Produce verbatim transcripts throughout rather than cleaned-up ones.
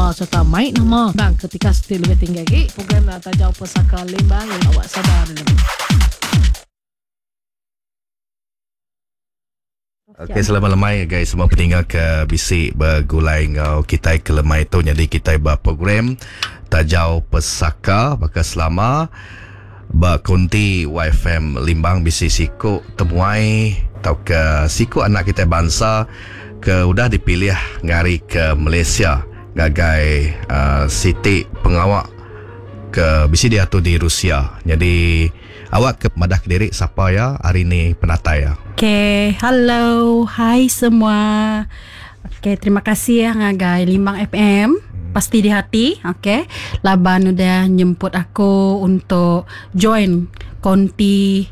nama serta mai nama bang ketika seti lebih tinggi lagi program Tajau Pesaka Limbang awak sadar dulu. Okey, selamat lemai guys semua peninggal ke bisi bergulai ngau kitai ke lemai tu. Jadi kitai ba program Tajau Pesaka baka selama ba konti Y F M Limbang bisi siku temuai atau ke siku anak kitai bangsa ke udah dipilih ngari ke Malaysia ngagai uh, siti pengawak ke bisi diatur di Rusia. Jadi awak ke madah ke diri siapa ya hari ni penatai ya. Okay, hello, hai semua. Okay, terima kasih ya ngagai Limbang F M. Pasti di hati, okay. Laban udah nyemput aku untuk join konti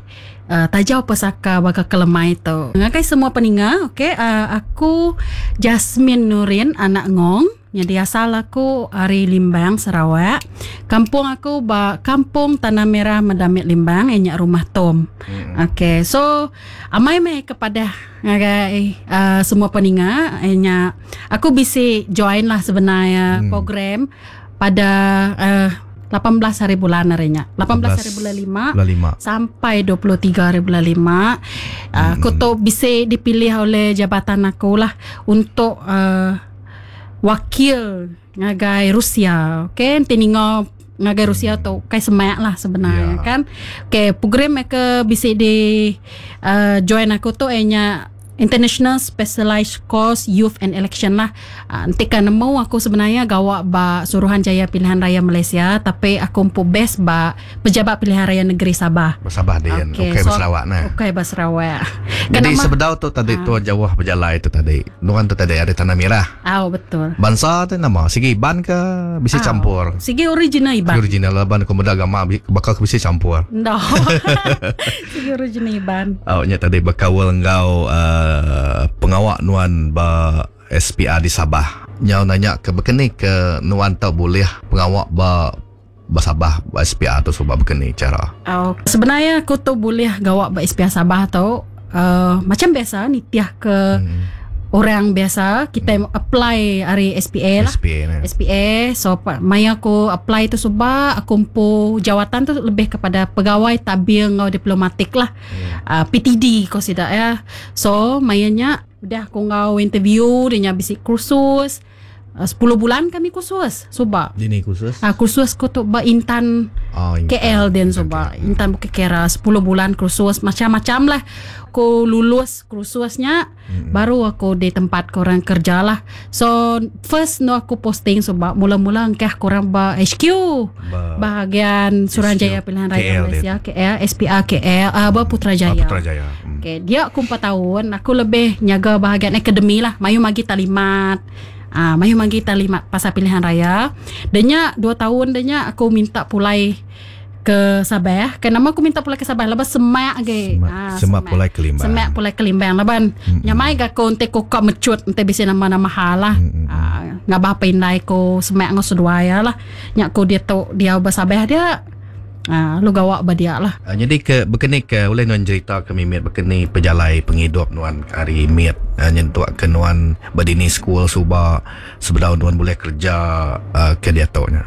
uh, Tajau Pesaka baka kelemai tu. Ngagai semua peninga, okay, uh, aku Jasmine Nurin anak Ngong. Jadi asal aku ari Limbang Sarawak. Kampung aku ba Kampung Tanah Merah Medamit Limbang, enyak rumah Tom. Hmm. Okay, so amai meh kepada ngagai uh, semua peninga, enyak aku bisi join lah sebenarnya hmm. program pada uh, lapan belas hari bulan harinya. lapan belas hari bulan lima, lima sampai dua puluh tiga hari bulan lima. Uh, aku tu bisi dipilih oleh jabatan aku lah untuk uh, wakil ngagai Rusia. Okey, nanti ninga ngagai Rusia tu kai semak lah sebenarnya yeah. kan. Okey, program ke bisi di uh, join aku tu enya International Specialized Course Youth and Election lah. Uh, nanti kan nemu aku sebenarnya gawak ba Suruhanjaya Pilihan Raya Malaysia, tapi aku empu best ba Pejabat Pilihan Raya Negeri Sabah. Sabah dia. Okey, okay, so, Sarawak nah. Okey, ba Sarawak. Jadi sebedau tu tadi uh, tu jauh berjalai tu tadi. Nuan tu tadi ada Tanah Merah. Ah, oh, betul. Bangsa tu nama sigi Iban ke bisi oh, campur? Sigi original Iban. Sigi original lah ban aku agama bakal bisi campur. No. Sigi original Iban. Oh, nya tadi bakawal enggau uh, Uh, pengawak nuan ba S P R di Sabah. Nyau nanya ke bekeni ke nuan tak boleh pengawak ba ba Sabah ba S P R tu sebab bekeni cara. Oh, sebenarnya aku tu boleh gawak ba S P R Sabah tu uh, macam biasa nitiah ke hmm. orang biasa kita hmm. apply hari S P A lah. S P A, nah. S P A. So maya aku apply tu sebab aku empu jawatan tu lebih kepada pegawai tabir ngau diplomatik lah. Hmm. Uh, P T D ko sidak ya. So mayanya udah aku ngau interview dia nya bisi kursus. Uh, sepuluh bulan kami kursus sebab. Dini kursus? Ah uh, kursus ko tu ba Intan, oh, Intan K L den sebab. Okay. Intan Bukit Kera sepuluh bulan kursus macam-macam lah. Aku lulus kursusnya mm-hmm. baru aku di tempat korang kerja lah. So first no aku posting sebab mula-mula engkah korang ba H Q ba bahagian Suruhanjaya Pilihan Raya Malaysia K L S P R K L uh, ba Putrajaya. Putrajaya. Mm. Okay, dia aku empat tahun aku lebih nyaga bahagian akademi lah. Mayu magi talimat. Ah, mayu magi talimat pasal pilihan raya. Denya dua tahun denya aku minta pulai ke Sabah. Kenapa aku minta pulai ke Sabah? Lepas semak ge. Semak, ha, semak pulai ke Limbang. Semak pulai ke Limbang laban. Mm-hmm. Nyamai ga ko ente ko ka mecut ente bisi nama-nama halah. Mm-hmm. Ha, ngabah pindai ko semak ngau seduai lah. Nyak ko dia tu dia ba Sabah dia. Ha, lu gawak ba dia lah. Uh, jadi ke bekeni ke oleh nuan cerita ke mimit bekeni pejalai penghidup nuan hari mit uh, nyentuk ke nuan berdini school suba sebedau nuan boleh kerja uh, ke dia tu nya.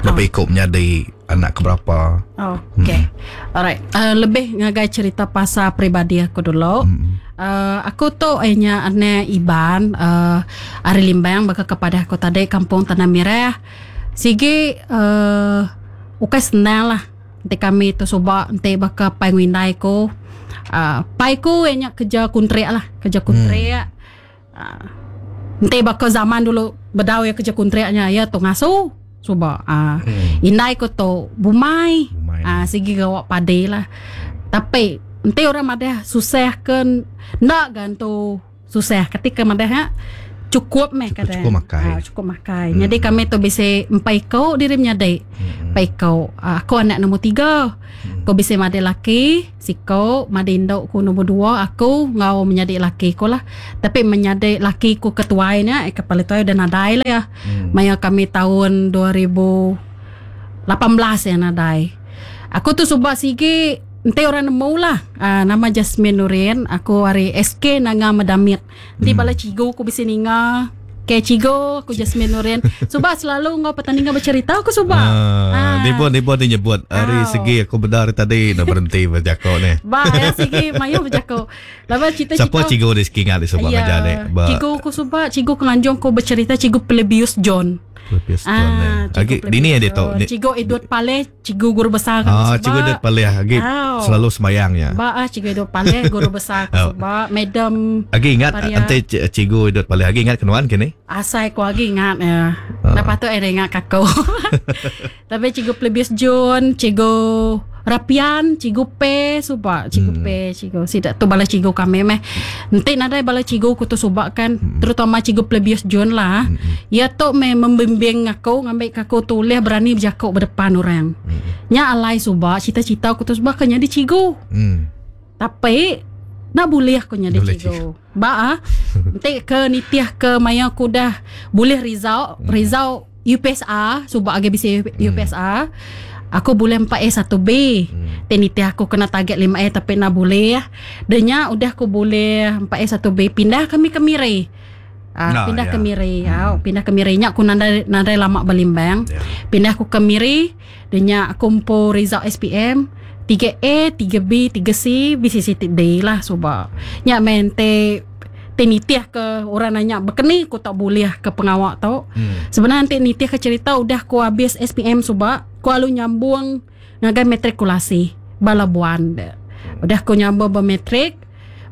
Lebih ikut menjadi anak keberapa. Oh, okay. Hmm. Alright. Uh, lebih ngagai cerita pasal pribadi aku dulu. Hmm. Uh, aku tu enya anak Iban uh, ari Limbang baka kepada aku tadi Kampung Tanah Merah. Sigi uh, ukai senang lah. Nanti kami tu subak nanti baka pai ngindai ko. Uh, pai ko enya kerja kontrak lah, kerja kontrak. Hmm. Uh, nanti baka zaman dulu bedau ya kerja kontraknya ya tu ngasuh. Cuba ah hmm. Indai ko tu bumai, bumai. Ah sigi gawak padi lah. Tapi enti orang madah susah ke nak gan tu susah ketika madah ha, cukup meh kadang. Cukup makai. Ah, cukup makai. Hmm. Jadi kami tu bisa empat iko diri menyadai. Hmm. Empat iko. Ah, aku anak nombor tiga. Hmm. Aku bisa made laki, siko, made induk ku nombor dua, aku ngau menyadai laki ku lah. Tapi menyadai laki ku ketuainya, eh kepala tuai udah nadai lah ya. Hmm. Maya kami tahun dua ribu lapan belas ya nadai. Aku tu subak sigi ente orang nemu lah. Uh, nama Jasmine Nurin, aku hari S K Nanga Medamit. Nanti hmm. bala cigu aku bisa ninga. Okey, cikgu aku Jasmine Nurin. Suba selalu ngau pertandingan bercerita aku suba. Ah, ah. Ni pun dia nyebut hari segi aku benar tadi nak berhenti berjakok ni. Ba, ya segi mayu berjakok. Lama cerita-cerita. Siapa cikgu di segi ingat di suba ya, ngajar ni? Cikgu aku suba, cikgu kenganjung aku bercerita cikgu Plebius John. Plebius John. Ah, Agi dini ada tu. Cikgu Edward Paleh, cikgu guru besar aku ah, cikgu Edward Paleh agi selalu semayang ya. Ba, ah, cikgu Edward Paleh guru besar aku suba, madam. Agi ingat ante cikgu Edward Paleh agi ingat kenuan kini? Asai ku agi ingat ya. Ah. Lepas tu eh ingat kako. Tapi cikgu Plebius John, cikgu Rapian, cikgu P suba, cikgu hmm. P, cikgu sidak tu bala cikgu kami meh. Nanti nadai bala cikgu ku tu suba kan, hmm. terutama cikgu Plebius John lah. Hmm. Ya tu meh membimbing aku, ngambil aku tulis berani berjakok berdepan orang. Hmm. Nya alai suba, cita-cita aku tu suba kan jadi cikgu. Hmm. Tapi nak boleh aku jadi cikgu. Ba ah, nanti ke nitiah ke maya aku dah boleh result, hmm. result U P S A, suba agi bisi U P S A. Hmm. Aku boleh empat A satu B. Hmm. Teniti aku kena target lima A tapi nak boleh ya. Denya udah aku boleh empat A satu B pindah kami ke Miri. Ah, Nah, pindah ya. ke Miri. Hmm. Ah, pindah ke Miri nya aku nandai nandai lama belimbang. Ya. Pindah aku ke Miri, denya aku kumpul result S P M tiga A, tiga B, tiga C, B C C D lah suba. Nya main te tenitiah ke orang nanya bekeni aku tak boleh ke pengawak tau. Hmm. Sebenarnya nanti nitiah ke cerita udah aku habis S P M suba, aku lalu nyambung ngagai matrikulasi Balabuan. Udah aku nyambung bermetrik,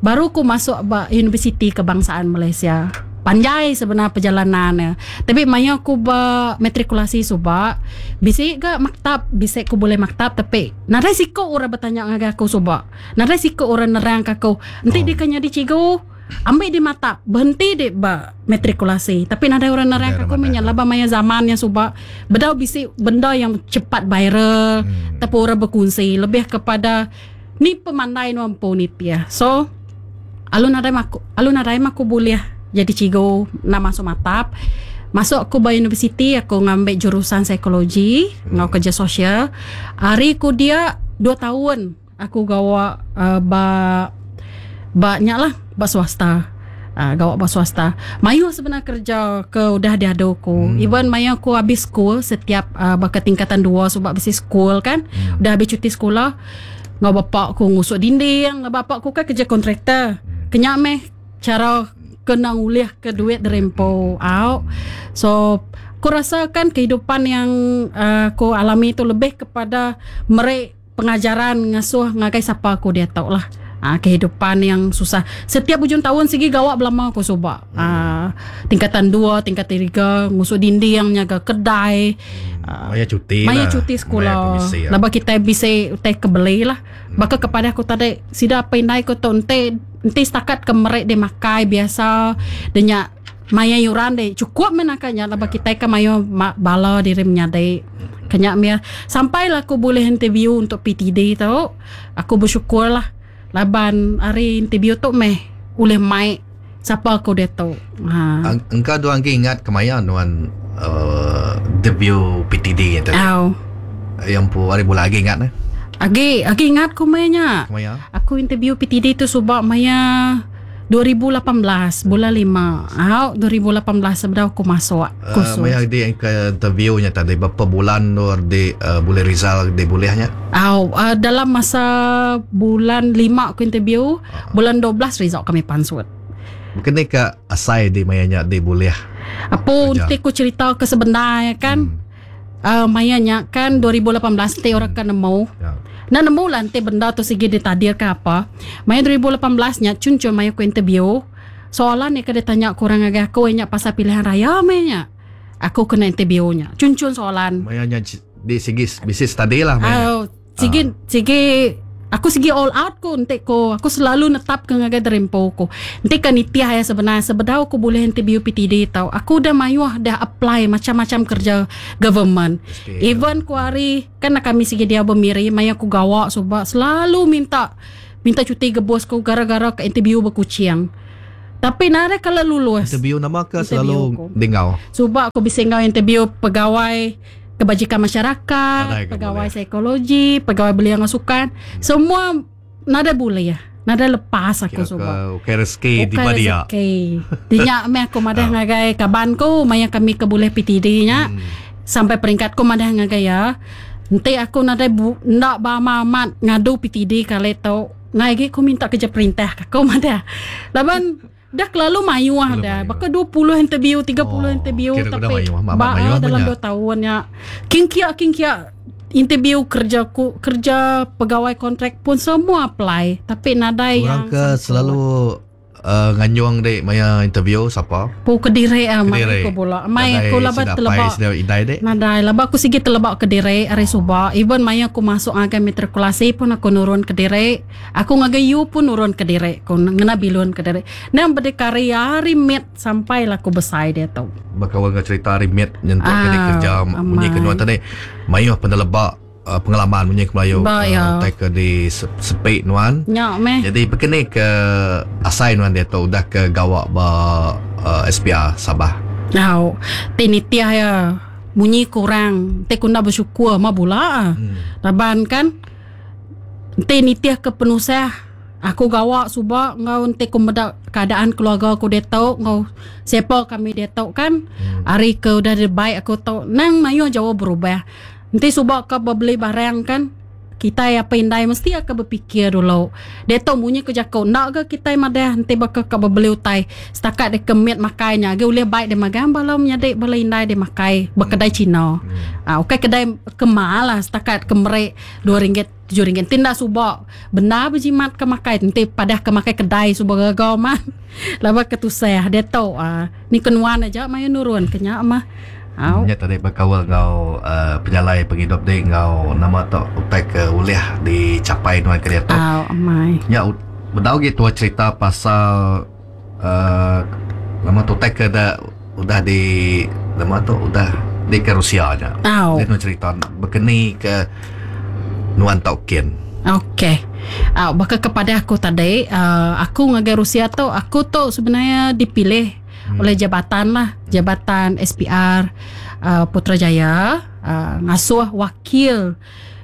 baru aku masuk ba Universiti Kebangsaan Malaysia. Panjai sebenarnya perjalanannya. Tapi maya aku ba matrikulasi suba, bisi ga maktab, bisi aku boleh maktab tapi nadai siko orang bertanya ngagai aku suba. Nadai siko orang nerang ke aku. Nanti Oh. dia kena di cikgu ambil di mata, berhenti di ba matrikulasi. Tapi nadai orang nerang Nadai aku orang menyala ba maya zamannya suba. Bedau bisi benda yang cepat viral, Hmm. tapi orang berkongsi lebih kepada ni pemandai nu ampu ni tia. So alun nadai maku, alun nadai maku boleh jadi cikgu nak masuk matap. Masuk aku ba universiti aku ngambil jurusan psikologi, hmm. ngau kerja sosial. Hari ku dia dua tahun aku gawa uh, ba banyak lah ba swasta. Uh, gawak ba swasta. Mayu sebenarnya kerja ke udah diadu aku. Hmm. Even maya aku habis school setiap uh, bakal tingkatan dua sebab habis school kan. Hmm. Udah habis cuti sekolah, ngau bapak aku ngusuk dinding, ngau bapak aku kan kerja kontraktor. Hmm. Kenyak meh cara kena ngulih ke duit derempo out. So aku rasa kan kehidupan yang uh, aku alami itu lebih kepada merek pengajaran ngasuh ngagai siapa aku dia tahu lah. Ah, kehidupan yang susah. Setiap ujung tahun segi gawak belama aku subak. Ah, tingkatan dua, tingkatan tiga, ngusuk dinding, nyaga kedai. Ah, Maya cuti maya lah. cuti Maya sekolah. permisi lah. Laba kita bisa utai kebeli lah. Baka kepada aku tadi sida pinai ko tu ente ente setakat ke merek dia makai biasa denya maya yuran deh cukup menakanya laba Ya. kita ke maya ma- bala diri menyadai. Kenyak mia sampailah aku boleh interview untuk P T D tu. Aku bersyukur lah. Laban hari interview tu meh ulih mai siapa aku dia tu. Ha. Ang- Engkau dua angki ingat kemaya nuan uh, debut P T D yang tadi. Au. Yang pu hari bulan lagi ingat eh. Agi, agi ingat ku mainnya. Kemaya. Aku interview P T D tu subak maya dua ribu lapan belas bulan lima. Au dua ribu lapan belas sebelum aku masuk Uh, kursus. maya di yang ke interviewnya tadi berapa bulan nur di uh, boleh result di bolehnya? Au uh, dalam masa bulan lima aku interview, Ah. bulan dua belas result kami pansut. Mungkin ni ke asai di mayanya di boleh. Apa Kerja. nanti aku cerita ke sebenarnya kan? Hmm. Uh, mayanya kan dua ribu lapan belas nanti orang kan nemu. Ya. Nah nemu lah nanti benda tu segi ditadir ke apa. Maya dua ribu lapan belas nya cun-cun maya aku interview. Soalan ni kena tanya kurang agak aku nya pasal pilihan raya maya. Aku kena interview nya. Cun-cun soalan. Mayanya di segi bisnis tadi lah mayanya. Oh, segi segi aku segi all out ko nanti ko. Aku selalu netap ke ngagai derempo ko. Nanti kan nitiah ya sebenarnya sebedau aku boleh interview P T D tau. Aku dah mayuh dah apply macam-macam kerja government. S P A. Even ku hari kan kami segi dia bermiri maya aku gawak sebab selalu minta minta cuti ke bos ku gara-gara ke interview berkuciang. Tapi nare kalau lulus. Interview nama ke Interview selalu aku. dengau. Sebab aku bisa ngau interview pegawai kebajikan masyarakat, Nadai ke pegawai boleh. psikologi, pegawai belia dengan sukan, semua nada boleh ya. Nadai lepas aku suba. Kira ke rezeki di badia. Rezeki. Dinya meh aku madah oh. ngagai kaban ku maya kami ke boleh P T D nya. Hmm. Sampai peringkat ku madah ngagai ya. Enti aku nadai bu, ndak ba amat ngadu P T D kali tu. Ngai gi ku minta kerja perintah aku madah. Laban dah kelalu mayuh dah. Baka dua puluh interview, tiga puluh oh, interview tapi ba dalam dua tahun nya. King kia king kia interview kerja ku kerja pegawai kontrak pun semua apply tapi nadai orang yang ke selalu uh, nganyuang dek maya interview siapa? Pu kedire ah mai aku bola. Mai aku laba telebak. Nadai laba aku sigi telebak kedire ari suba. Even maya aku masuk ngagai matrikulasi pun aku nurun kedire. Aku ngagai U pun nurun kedire. Aku ngena bilun kedire. Nang berdikari hari mit sampai lah aku besai dia tu. Bakal ngau cerita hari mit nyentuk ah, ke kerja munyi kedua tadi. Mayuh penelebak uh, pengalaman munyi ke Melayu uh, ya. Ke di sepik nuan. Ya meh. Jadi begini ke asai nuan dia tu udah ke gawak ba uh, S P R Sabah. Nau, tinitiah ya bunyi kurang. Te kunda bersyukur ma bula. Hmm. Laban kan tinitiah ke penusah. Aku gawak suba ngau ente ku meda keadaan keluarga aku dia tau ngau siapa kami dia tau kan. Hmm. Hari ke udah baik aku tau nang mayuh jauh berubah. Ente suba ke beli barang kan kita apa indai mesti akan berfikir dulu. Dia tau munyi ke jakau nak ke kita madah ente bakal ke beli utai setakat dia kemit makainya ge boleh baik dia makan balau menyadik bala indai dia makai berkedai Cina. Hmm. Ah okey kedai kemal lah setakat kemerek dua ringgit tujuh ringgit tindak subak benar berjimat ke makai nanti padah ke makai kedai subak gagau mah laba ketusah dia tahu ah ni kenuan aja mayu nurun kenyak mah. Nya tadi berkawal ngau uh, penyalai penghidup dia ngau nama tu utai ke ulih dicapai nuan ke dia tu. Au amai. Nya bedau gitu cerita pasal uh, nama tu utai ke dah udah di nama tu udah di ke Rusia nya. Au. Dia nuan cerita berkeni ke nuan taukin. Okey. Ah uh, bakal kepada aku tadi uh, aku ngagai Rusia tu aku tu sebenarnya dipilih hmm. oleh jabatan lah, jabatan S P R uh, Putrajaya uh, ngasuh wakil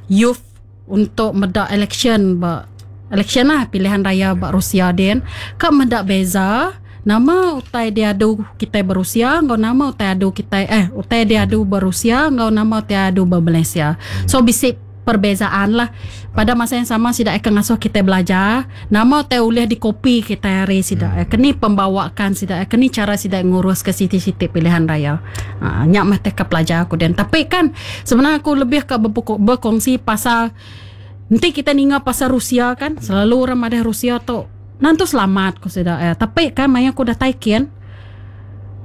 youth untuk medak election ba election lah pilihan raya ba Rusia den ka medak beza nama utai dia adu kita berusia ngau nama utai adu kita eh utai dia adu berusia ngau nama utai adu ber Malaysia. So bisik perbezaan lah. Pada masa yang sama sidak akan ngasuh kita belajar nama te ulih dikopi kita hari sidak hmm. kini pembawakan sidak kini cara sidak ngurus ke siti-siti pilihan raya. Ha, nyak mah te ke pelajar aku dan tapi kan sebenarnya aku lebih ke berkongsi pasal nanti kita ninga pasal Rusia kan selalu orang ada Rusia tu nanti selamat ku sidak eh. Tapi kan maya aku dah taikin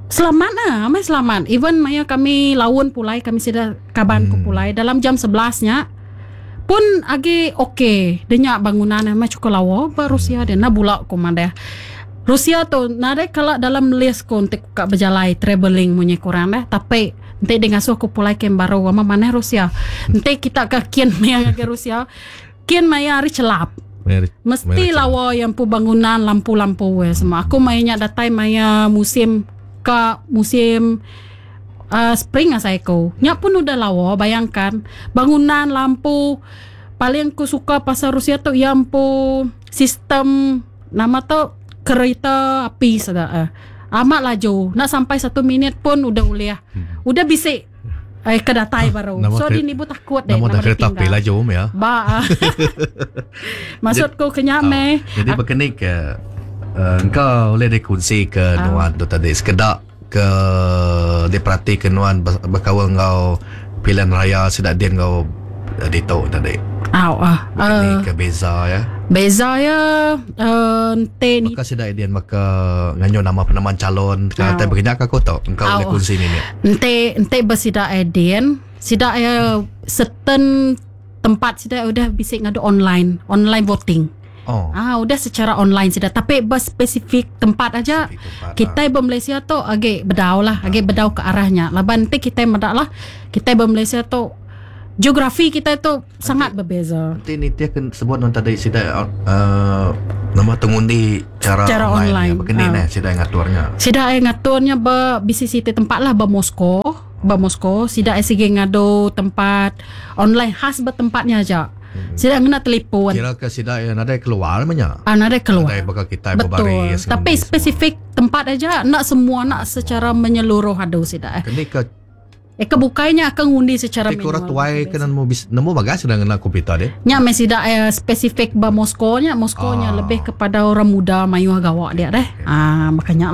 selamat lah, amai selamat. Even maya kami laun pulai kami sidak kaban ku hmm. pulai dalam jam sebelas nya pun agi okey denyak bangunan mah cukup lawa ba Rusia dia na bulak ku madah Rusia tu nare kala dalam list ku untuk ka berjalai traveling munyi kurang dah tapi ente dia ngasuh aku pulai ke baru ama mana Rusia ente kita ke kian maya ke Rusia kian maya hari celap mesti lawa yang pu bangunan lampu-lampu we semua aku mainnya datai maya musim ke musim Uh, spring asai ko. Nya pun udah lawa bayangkan bangunan lampu paling ku suka pasal Rusia tu yang pu sistem nama tu kereta api sada uh. Amat laju nak sampai satu minit pun udah uliah. Hmm. Udah bisik eh kedatai baru. So di nibu takut deh nama, nama kereta api laju ya. Ba. Maksudku kenyak meh. Jadi berkenik ke uh, engkau boleh dikongsi ke uh. nuan tu tadi sekedak ke diperhati ke nuan berkawal ngau pilihan raya sedak dia ngau dito tadi. Aw ah. Uh, ke beza ya. Beza ya uh, ente ni. Maka sedak dia maka nganyo nama penamaan calon kata berkenyak aku tau engkau boleh kongsi ni. Ente ente bersidak edin, sidak ya certain tempat sidak udah bisik ngadu online, online voting. Oh. Ah, udah secara online sudah. Tapi berspesifik tempat aja. Spesifik tempat, kita ah. Malaysia tu agak bedau lah, agak bedau ke arahnya. Laban nanti kita medak lah. Kita Malaysia tu geografi kita tu nanti, sangat berbeza. Nanti ni dia kan sebut non tadi sida uh, nama tengundi cara, cara online. online. Ya. Begini ah. nah sida ngaturnya. Sida ngaturnya be B C C tempat lah be Moskow, be Moskow sida sigi ngadu tempat online khas bertempatnya aja. Sida ngena telefon. Kira ke sida yang nadai keluar menya. Ah, nadai keluar. Nadai baka kita Betul. berbaris. Tapi spesifik tempat aja nak semua nak secara menyeluruh adu sida. Eh, Kini ke eh kebukainya akan ngundi secara Ti orang tuai kena nemu bis, nemu bagas sudah ngena komputer deh. Nya mesti dak eh, spesifik ba Moskow nya, Moskow nya Ah. lebih kepada orang muda mayuh gawak dia deh. Ah makanya